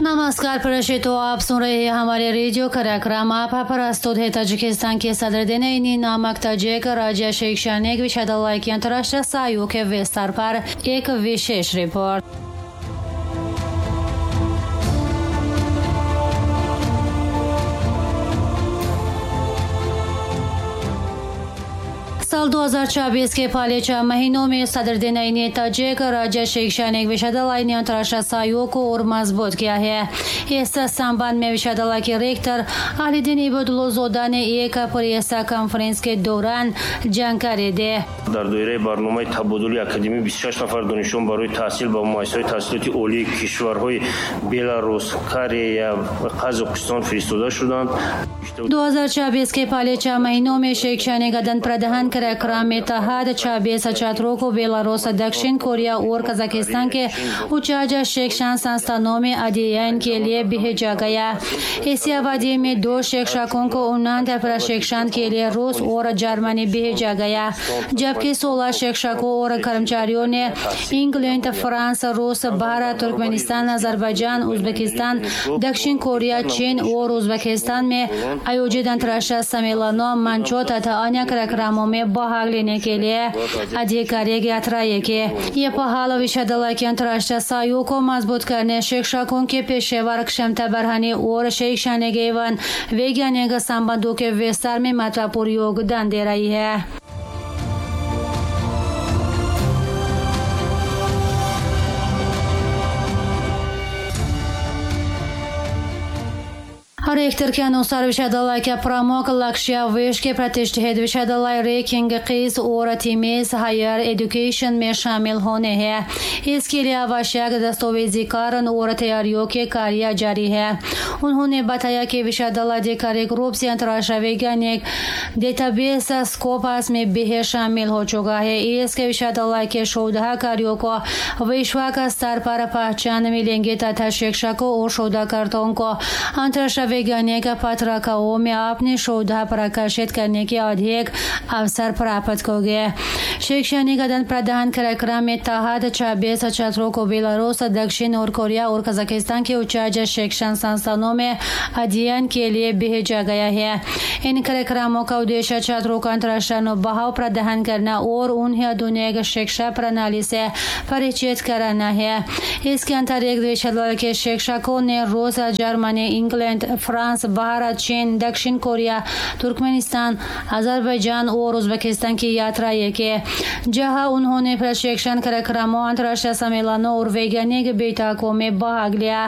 नमस्कार प्रशितो, आप सुन रहे हैं हमारे रेडियो कार्यक्रम। आप प्रस्तुत है ताजिकिस्तान के सदर दिन नामक ताजिक राज्य शैक्षणिक विश्वविद्यालय के अंतर्राष्ट्रीय सहयोग के विस्तार पर एक विशेष रिपोर्ट। साल 2024 के पहले 6 महीनों में सदर ने ताजिक राज्य शैक्षणिक विश्वविद्यालय ने अंतर्राष्ट्रीय सहयोग को और मजबूत किया है। इस संबंध में विश्वविद्यालय के रेक्टर अलीदीन इबोदुल्लोज़ोदा ने एक प्रेस कॉन्फ्रेंस के दौरान जानकारी दी। Дар доираи барномаи табодули академӣ 26 нафар донишҷӯён барои таҳсил ба муассисаҳои таҳсилоти олии кишварҳои Беларус, Корея ва Қазоқистон фиристода шуданд. 2024 के पहले 6 महीनों में शैक्षणिक आदान प्रदान कार्यक्रम में तहत 26 छात्रों को बेलारूस, दक्षिण कोरिया और कजाकिस्तान के उच्च शिक्षण संस्थानों में अध्ययन के लिए भेजा गया। इसी अवधि में 2 शिक्षकों को उन्नत प्रशिक्षण के लिए रूस और जर्मनी भेजा गया, जबकि 16 शिक्षकों और कर्मचारियों ने इंग्लैंड, फ्रांस, रूस, भारत, तुर्कमेनिस्तान, अजरबैजान, उज्बेकिस्तान, दक्षिण कोरिया, चीन और उज्बेकिस्तान में आयोजित अंतर्राष्ट्रीय सम्मेलनों, मंचों तथा अन्य कार्यक्रमों में भाग लेने के लिए आधिकारिक यात्राएं की। ये पहल विश्वविद्यालय के अंतर्राष्ट्रीय सहयोग को मजबूत करने, शिक्षकों के पेशेवर क्षमता बढ़ाने और शैक्षणिक एवं वैज्ञानिक संबंधों के विस्तार में महत्वपूर्ण योगदान दे रही है। रेक्टर के अनुसार विश्वविद्यालय का प्रमुख लक्ष्य विश्व के प्रतिष्ठित विश्वविद्यालय रैंकिंग किस और थीमेस हायर एजुकेशन में शामिल होने हैं। इसके लिए आवश्यक दस्तावेजीकरण और तैयारियों के कार्य जारी है। उन्होंने बताया कि विश्वविद्यालय आधिकारिक रूप से अंतर्राष्ट्रीय वैज्ञानिक डेटाबेस स्कोपस में भी शामिल हो चुका है। इसके विश्वविद्यालय के शोध कार्यों को विश्व का स्तर पर पहचान मिलेंगे तथा शिक्षकों और शोधकर्ताओं को अंतर्राष्ट्रीय वैज्ञानिक पत्रिकाओं में अपने शोध प्रकाशित करने के अधिक अवसर प्राप्त हो गए। शैक्षणिक आदान प्रदान कार्यक्रम में तहत 26 छात्रों को बेलारूस, दक्षिण और कोरिया और कजाकिस्तान के उच्च शिक्षण संस्थानों में अध्ययन के लिए भेजा गया है। इन कार्यक्रमों का उद्देश्य छात्रों का अंतर्राष्ट्रीय अनुभव प्रदान करना और उन्हें आधुनिक शिक्षा प्रणाली से परिचित कराना है। इसके अंतर्गत विश्वविद्यालय के शिक्षकों ने रूस, Germany, England, France, Bharat, चीन, दक्षिण Korea, Turkmenistan, Azerbaijan और उज्बेकिस्तान की यात्राएं की, जहां उन्होंने प्रशिक्षण कार्यक्रमों, अंतर्राष्ट्रीय सम्मेलनों और वैज्ञानिक बैठकों में भाग लिया।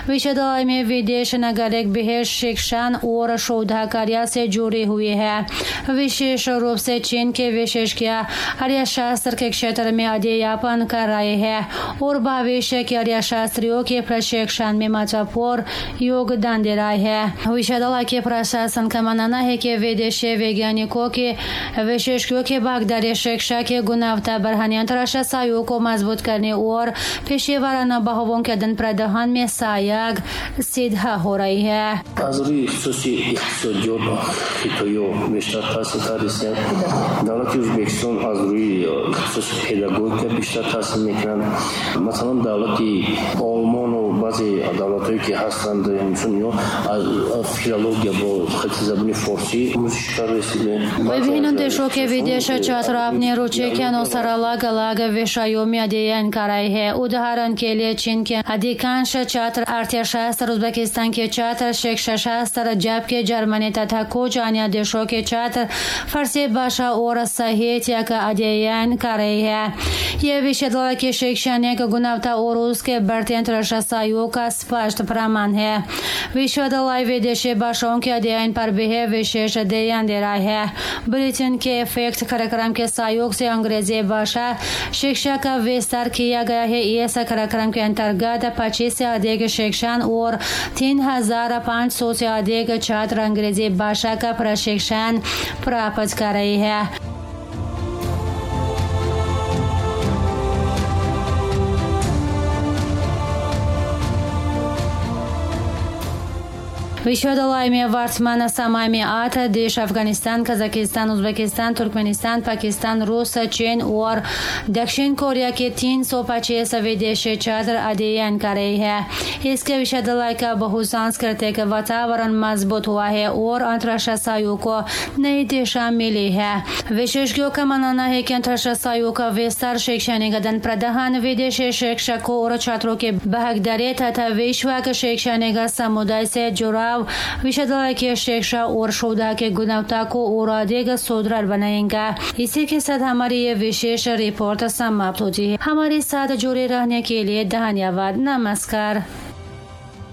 विश्वविद्यालय में विदेश नागरिक भी शिक्षण और शोध कार्य से जुड़े हुए हैं। विशेष रूप से चीन के विशेषज्ञ अर्थशास्त्र के क्षेत्र में अध्यापन कर रहे हैं और भविष्य के अर्थशास्त्रियों के प्रशिक्षण में महत्वपूर्ण योगदान दे रहा है। विश्वविद्यालय के प्रशासन का मानना है कि विदेशी वैज्ञानिकों के विशेषज्ञों की भागीदारी शिक्षा की गुणवत्ता बढ़ाने, अंतर्राष्ट्रीय सहयोग को मजबूत करने और पेशेवर अनुभवों के आदान प्रदान में सहायक सिद्ध हो रही है। Аз рӯи ихтисоси иқтисодиёт хитоё бештар таҳсил кардастанд. Давлати Ӯзбекистон аз рӯи ихтисоси педагогика бештар таҳсил мекунанд. Масалан, давлати Олмону баъзе давлатҳое ки ҳастанд, инсон ё филология бо хати забони форсӣ омӯзиш кардаистанд. विभिन्न देशों के विदेश छात्र अपनी रुचि के अनुसार अलग अलग विषयों में अध्ययन कर रहे हैं। उदाहरण के लिए चीन के अधिकांश छात्र अर्थशास्त्र, उज्बेकिस्तान के छात्र शिक्षा शास्त्र, जबकि जर्मनी तथा कुछ अन्य देशों के छात्र फारसी भाषा और साहित्य का अध्ययन कर रहे हैं। यह विश्वविद्यालय की शैक्षणिक गुणवत्ता और उसके बढ़ते अंतर्राष्ट्रीय सहयोग का स्पष्ट प्रमाण है। विश्वविद्यालय विदेशी भाषाओं के अध्ययन पर भी विशेष ध्यान दे रहा है। ब्रिटेन के इफेक्ट कार्यक्रम के सहयोग से अंग्रेजी भाषा शिक्षा का विस्तार किया गया है। इस कार्यक्रम के अंतर्गत 25 से अधिक शिक्षण और 3500 से अधिक छात्र अंग्रेजी भाषा का प्रशिक्षण प्राप्त कर रहे हैं। विश्वविद्यालय में वर्तमान समय में 8 देश Afghanistan, Kazakhstan, Uzbekistan, Turkmenistan, Pakistan, रूस, चीन और दक्षिण कोरिया के 325 विदेशी छात्र अध्ययन कर रहे हैं। इसके विश्वविद्यालय का बहुसांस्कृतिक वातावरण मजबूत हुआ है और अंतर्राष्ट्रीय सहयोग को नई दिशा मिली है। विशेषज्ञों का मानना है कि अंतर्राष्ट्रीय सहयोग का विस्तार शैक्षणिक आदान प्रदान, विदेशी शिक्षकों और छात्रों के भागीदारी तथा विश्व के शैक्षणिक समुदाय से जुड़ाव विश्वविद्यालय की शिक्षा और शोध के गुणवत्ता को और अधिक सुदृढ़ बनाएगा। इसी के साथ हमारी ये विशेष रिपोर्ट समाप्त होती है। हमारे साथ जुड़े रहने के लिए धन्यवाद। नमस्कार।